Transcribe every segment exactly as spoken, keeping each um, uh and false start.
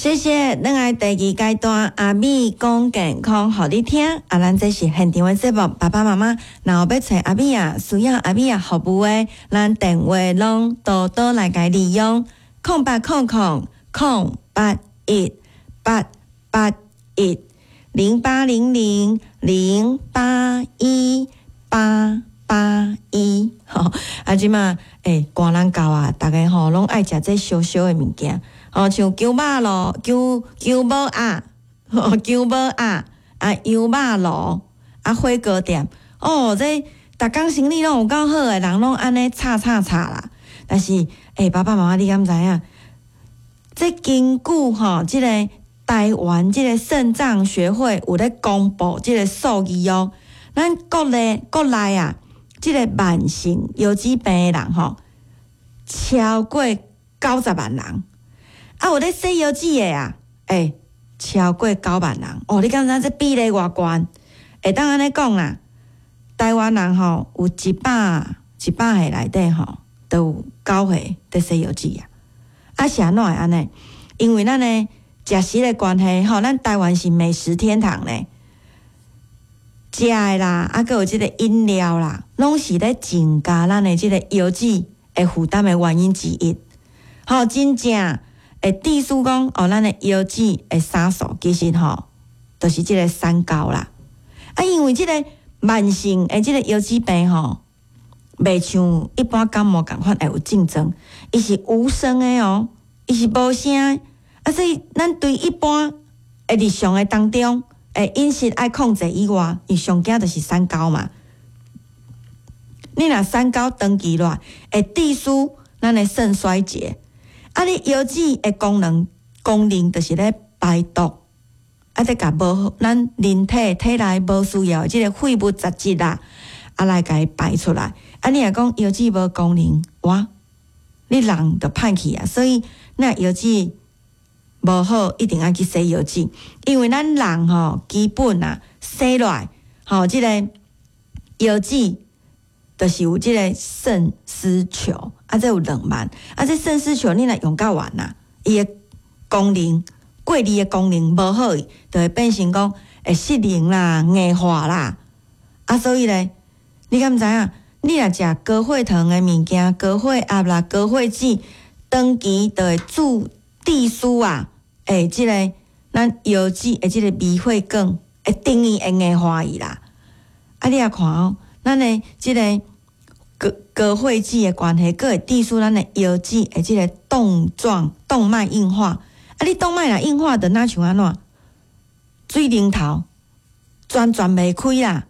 謝謝，轉來第二階段，阿美講健康，予你聽。啊，咱這是現場的節目，爸爸媽媽若有欲揣阿美仔，需要阿美仔服務的，咱電話攏多多來共利用，空八空空空八一八八一零八零零零八一八八一。吼，啊，這馬欸，寒人到啊，逐家吼攏愛食這燒燒的物件。哦，像薑肉爐、薑薑母鴨、薑母鴨啊，羊肉爐啊，火鍋店，哦，這逐工生理攏有夠好的，人攏按呢炒炒炒啦。但是，欸，爸爸媽媽，你敢知影？這根據吼，這个台灣這個腎臟學會有咧公布這個數字哦，咱國內國內啊，這個慢性腰子病的人吼，超過九十萬人。啊，有咧洗腰子的啊，欸，超過九萬人哦！你敢知這比例偌懸？會當按呢講啦，台灣人吼有一百一百歲內底吼，都有九歲佇洗腰子啊。啊，是按怎會按呢？因為咱的食食的關係吼，咱台灣是美食天堂咧，食的啦，啊，閣有這個飲料啦，攏是咧增加咱的這個腰子的負擔的原因之一。吼，真正會致使講哦，咱的腰子的殺手其實吼，就是這個三高啦。啊，因為這個慢性的這個腰子病吼，袂像一般感冒仝款會有症狀，伊是無聲的哦，伊是無聲。啊，所以咱對一般的日常的當中，欸，飲食愛控制以外，伊上驚就是三高嘛。你若三高長期落來，會致使咱的腎衰竭。啊！你腰子的功能功能就是咧排毒，啊，咧共無咱人體體內無需要的這個廢物雜質啦，啊，來共伊排出來。啊，你若講腰子無功能，哇，你人就歹去啊！所以，若腰子無好，一定愛去洗腰子，因為咱人吼基本啊生落來吼，這個腰子就是有這個腎絲球，啊，這有兩萬，啊，這腎絲球你若用較完啊，伊的功能過濾的功能無好，就會變成講會失能啦、硬化啦，啊，所以咧，你敢知影？你若食高血糖的物件、高血壓啦、高血脂，長期就會致致使啊，欸，這個咱腰子的這個微血管會等於會硬化去啦。啊，你也看哦，咱的這個高高血脂的關係，閣會致使咱的腰子的這個動狀動脈硬化。啊，你動脈若硬化，就若像按怎？水龍頭全轉袂開啦！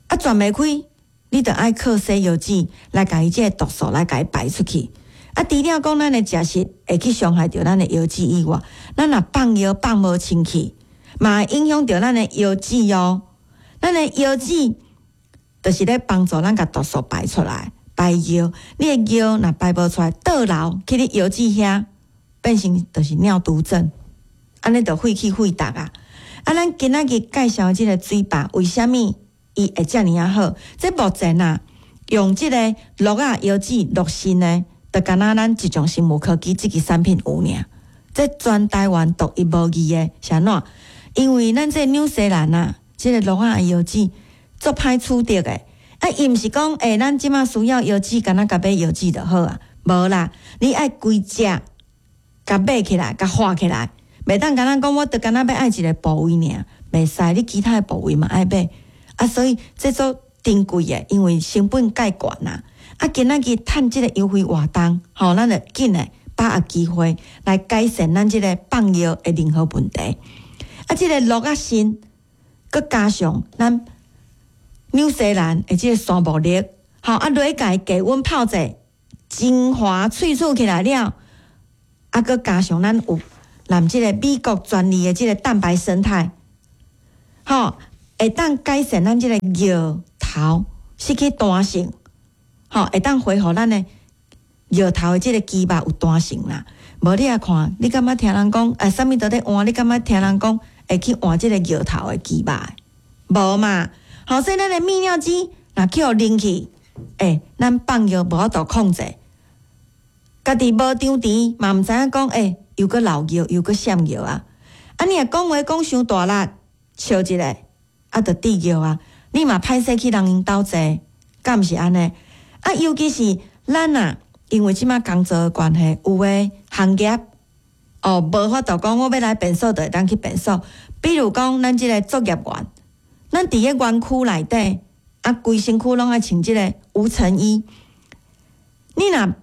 啊，轉袂開，你就愛靠洗腰子來共伊這個毒素來共伊排出去。啊，除了講咱的食食會去傷害著咱的腰子以外，咱若放尿放無清氣，嘛會影響著咱的腰子哦。咱的腰子就是咧幫助咱共毒素排出來，排尿。你的尿若排無出來，倒流去你腰子遐，變成就是尿毒症，按呢就廢氣廢毒啊！啊，咱今仔日介紹這個水壩，為啥物伊會遮爾仔好？這目前啊，用這個鹿仔腰子鹿腎的，就敢若咱一種生物科技這支產品有爾，這全台灣獨一無二的，是按怎？因為咱這紐西蘭啊，這個鹿仔腰子足歹取得的，啊，伊毋是講，欸，咱這馬需要腰子，敢若共買腰子就好啊，無啦，你愛規隻共買起來，共畫起來，袂當敢若講，我就敢若欲愛一個部位爾，袂使，你其他的部位嘛愛買，啊，所以這足珍貴的，因為成本蓋懸啊。啊，今仔日趁這個優惠活動，吼，咱就緊來把握機會來改善咱這個放尿的任何問題。啊，這個鹿仔腎，閣加上咱紐西蘭的這個山木力，吼，啊，落去共伊低溫泡者，精華萃取起來了，啊，閣加上咱有攬這個美國專利的這個蛋白胜肽，吼，會當改善咱這個尿頭失去彈性，吼，會當恢復咱的尿頭的這個肌肉有彈性啦。無你也看，你感覺聽人講，欸，啥物都咧換，你感覺聽人講會去換這個尿頭的肌肉？無嘛。好，所以咱的泌尿肌若去予啉去，欸，咱放尿無法度控制，家己無張持嘛，毋知影講，欸，又閣漏尿，又閣閃尿啊！啊，你若講話講傷大力，笑一下，啊，就滴尿啊！你嘛歹勢去人𪜶兜坐，敢毋是按呢？啊，尤其是咱啊，因為這馬工作的關係，有的行業哦，無法度講我欲來便所就會當去便所。比如講，咱這個作業員，咱佇个園區內底，啊，規身軀攏愛穿這個無塵衣。你若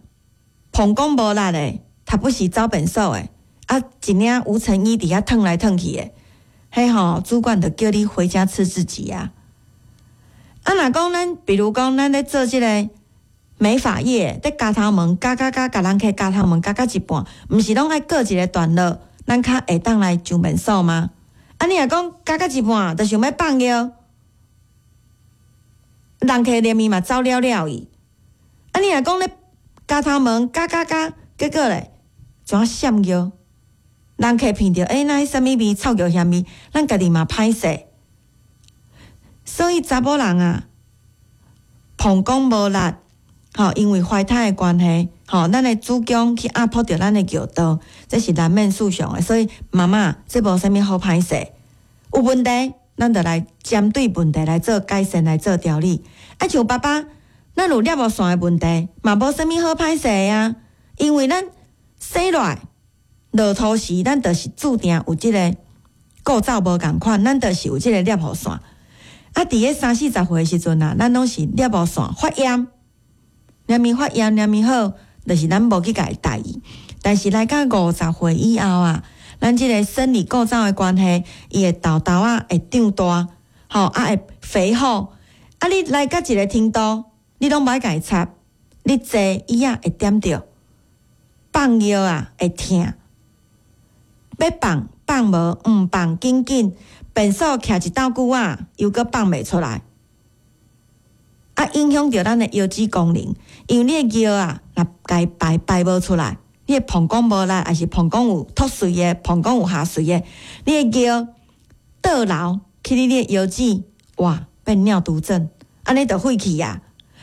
膀胱無力的，他不時走便所的，啊，一領無塵衣佇遐褪來褪去的，彼吼主管就叫你回家吃自己啊。啊，若講咱，比如講咱咧做這個美髮業，咧鉸頭毛，鉸鉸鉸，共人客鉸頭毛鉸到一半，毋是攏愛過一個段落，咱較會當來上便所嗎？啊，你若講鉸到一半，就想欲放尿，人客連伊嘛走了了去。啊，你若講咧鉸頭毛，鉸鉸鉸，結果咧怎閃尿？人客聞著，欸，那彼啥物味？臭尿薟味，咱家己嘛歹勢。所以查某人啊，膀胱無力，吼，因為懷胎的關係，吼，咱的子宮去壓迫著咱的尿道，這是難免事項的。所以媽媽，這無啥物好歹勢，有問題，咱就來針對問題來做改善，來做調理。啊，像爸爸，咱有尿路線的問題，嘛無啥物好歹勢啊，因為咱生落來落土時，咱就是注定有這個構造無仝款，咱就是有這個尿路線。啊，佇咧三四十歲的時陣啊，咱攏是尿路線發炎，連咪發炎，連咪好，就是咱無去共伊在意。但是來到五十歲以後啊，咱這個生理構造的關係，伊會豆豆仔會長大，吼啊會肥厚。啊，你來到一個程度，你攏無愛共伊插，你坐椅仔會點著，放尿啊會疼，欲放放無，毋放緊緊，便所徛一斗久仔，又閣放袂出來，啊，影響著咱的腰子功能，因為你的尿啊，若共伊排排無出來，你的膀胱無力，抑是膀胱有脫水的，膀胱有下垂的，你的尿倒流去你的腰子，哇，變尿毒症，按呢就廢去啊。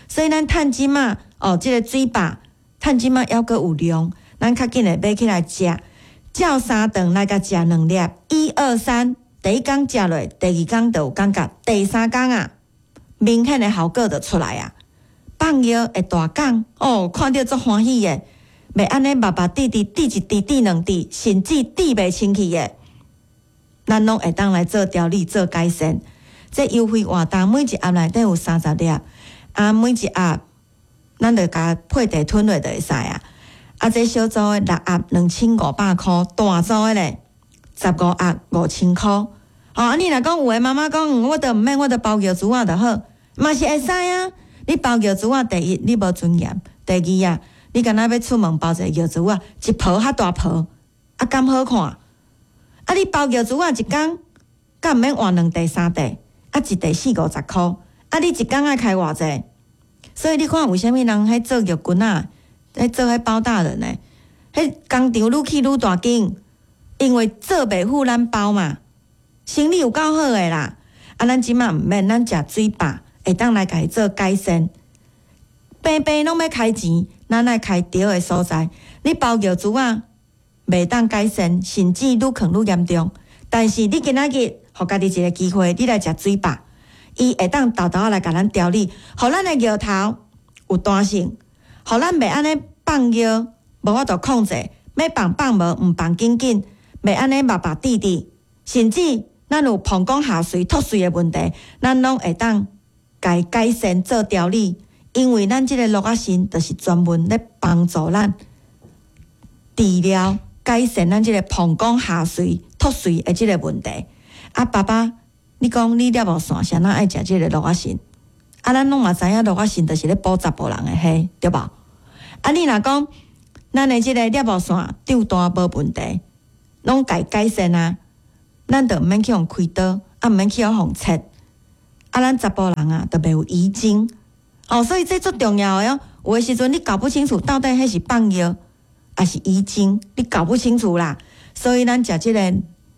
所以咱趁這馬哦，這個水飽，趁這馬猶閣有量，咱較緊的買起來食，照三頓來共食兩粒，一二三，第一工食落，第二工就有感覺，第三工啊，明顯的效果就出來啊。放尿會大講哦，看著足歡喜的，袂按呢目目滴滴滴一滴滴兩滴，甚至滴袂清氣的，咱攏會當來做調理做改善。這優惠活動每一盒內底有三十粒，啊，每一盒咱就共配茶吞落就會使啊。啊，這小組的六盒兩千五百箍，大組的咧十五盒五千箍。哦，啊，你若講有的媽媽講，我都毋免，我都包尿珠仔就好，嘛是會使啊。你包尿珠仔，第一你無尊嚴，第二啊，你敢若欲出門包一個尿珠仔，一泡較大泡，啊，敢好看？啊，你包尿珠仔一工，敢毋免換兩袋三袋？啊，一袋四五十箍，啊，你一工愛開偌濟？所以你看，為啥物人彼做尿棍仔，彼做彼包大人的，彼工廠愈起愈大間，因為做袂赴咱包嘛，生理有夠好的啦。啊，咱這馬毋免，咱食水飽，會當來共伊做改善。平平攏欲開錢，咱愛開對的所在。你包尿珠仔袂當改善，甚至愈囥愈嚴重。但是你今仔日，予家己一個機會，你來食水飽，伊會當沓沓仔來共咱調理，予咱的尿頭有彈性，予咱袂按呢放尿無法度控制，欲放放無，毋放緊緊，袂按呢目目滴滴，甚至咱有膀胱下垂脫水的問題，咱攏會當共伊改善做調理，因為咱這個鹿仔腎就是專門咧幫助咱治療改善咱這個膀胱下垂脫水的這個問題。啊，爸爸，你講你尿路線啥人愛食這個鹿仔腎？啊，咱攏嘛知影鹿仔腎就是咧補查埔人的彼，對無？啊，你若講咱的這個尿路線長大無問題，攏共伊改善啊，咱就毋免去予開刀，啊，毋免去予切，啊，咱查埔人啊，就袂有遺精。哦，所以這足重要的哦。有的時陣你搞不清楚到底彼是放尿，抑是遺精，你搞不清楚啦。所以咱食這個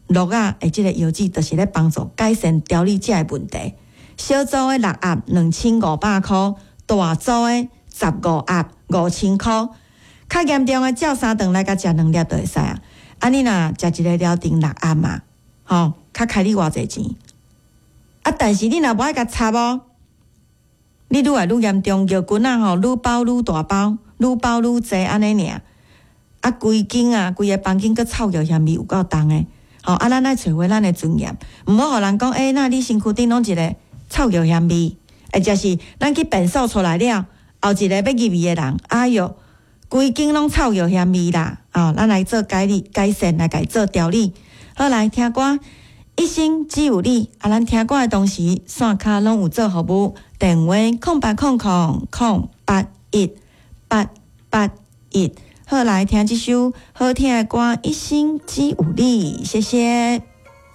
鹿仔的這個藥劑，就是咧幫助改善調理這個問題。小組的六盒兩千五百箍，大組的十五盒五千箍。較嚴重的照三頓來共食兩粒就會使啊。啊，你若食一个療程六暗嘛，吼，較開你偌濟錢？啊，但是你若無愛共插哦，你愈來愈嚴重，藥棍仔吼，愈包愈大包，愈包愈濟按呢爾。啊，規間啊，規个房間閣臭藥香味有夠重的，吼啊，咱愛揣回咱的尊嚴，毋好予人講，欸，那你身軀頂攏一个臭藥香味，或者是咱去便所出來了，後一个欲入去的人，哎喲，規間攏臭藥香味啦！哦，咱來做改理改善，來共伊做調理。好，來聽歌，一生只有你。啊，咱聽歌的同時，線跤攏有做服務，電話空八空空空八一八八一。好，來聽這首好聽的歌，《一生只有你》，謝謝。